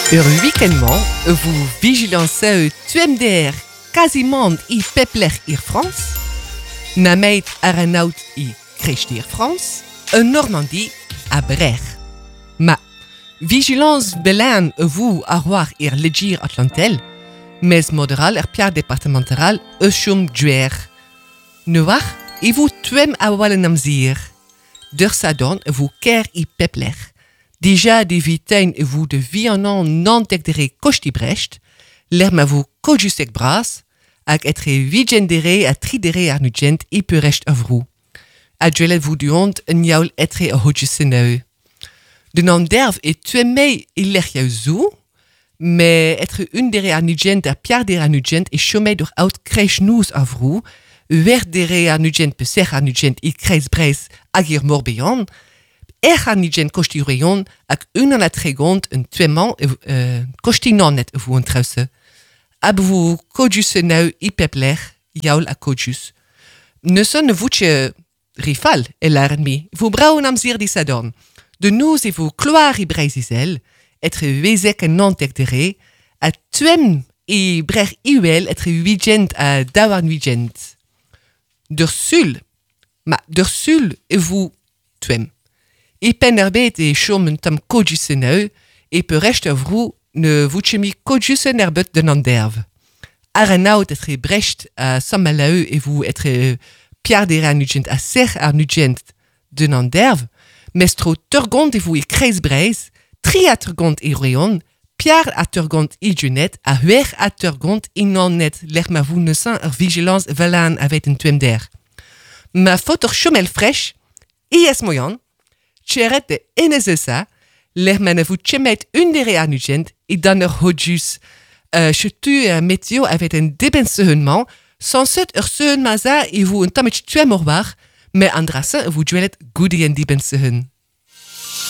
Ur week-end-mañ vo vigilañs tuemder quasiment i pep lec'h ir Frañs, nameit ar an aod i kreisteiz Frañs, en Normandie ha Brec'h. Ma vigilañs belan vo ar war ir Liger Atlantel, mes moderal er piar departemental eus chom duer. Ne war e vo tuem a-wal en amzer. D'ur sadorn vo ker i pep lec'h. Dija de vitein e vo de vianan nantek dere kosti Brecht, lec'h ma vo kojusek bras, hag etre vigent dere ha tri dere ar nugent e peurecht a vrou. A dwelet vo duont un yaoul etre a hodjuseneu. Den an derv e tuemmei e lec'h yaou zo, me etre un dere ar nugent ha piar dere ar nugent e chomei dur out kreich nouz a vrou, wer dere ar nugent pe serr ar nugent e kreiz Breiz hag ir Morbihan, ec'h ar nugent kosti reion hag unan a tregont un tuemman kosti nannet vo an trause. Ab vo kodjus neu i pep lec'h, yaoul a kodjus. Neuze ne voutje rifal, e laren mi. Vo braun amzer di sadorn. De noz e vo kloar i Breiz-Izel, etre wezek en nantek dere, a tuem e brec'h iwel etre huigent ha daouarn huigent. D'ur sul, ma d'ur sul e vo tuem. E penn ar bet e chom un tamm kodjus neu, e peurecht ur vrou ne voutje mi kodjus en er bet den an derv. Ar an aod etre Brecht ha Saint-Malo e vo etre piar dere ar nugent ha serr ar nugent den an derv, mes tro turgont e vo e kreiz Breiz, tri a turgont e Roeon, piar a turgont e Junet, ha huer a turgont e Nannet, lec'h ma vo neuzen ur vigilance velan avet un tuemder. Ma faot ur chomel fresh, e es moian, tcheret de NSSA, lec'h ma ne vo chemet un dere ar nugent e dan ur hodjus. Chetu a meteo avet un deben-sehun-man, sanset ur sehun maza e vo un tammig tuem ur war, me an drasa e vo dwelet goude en diben-sehun.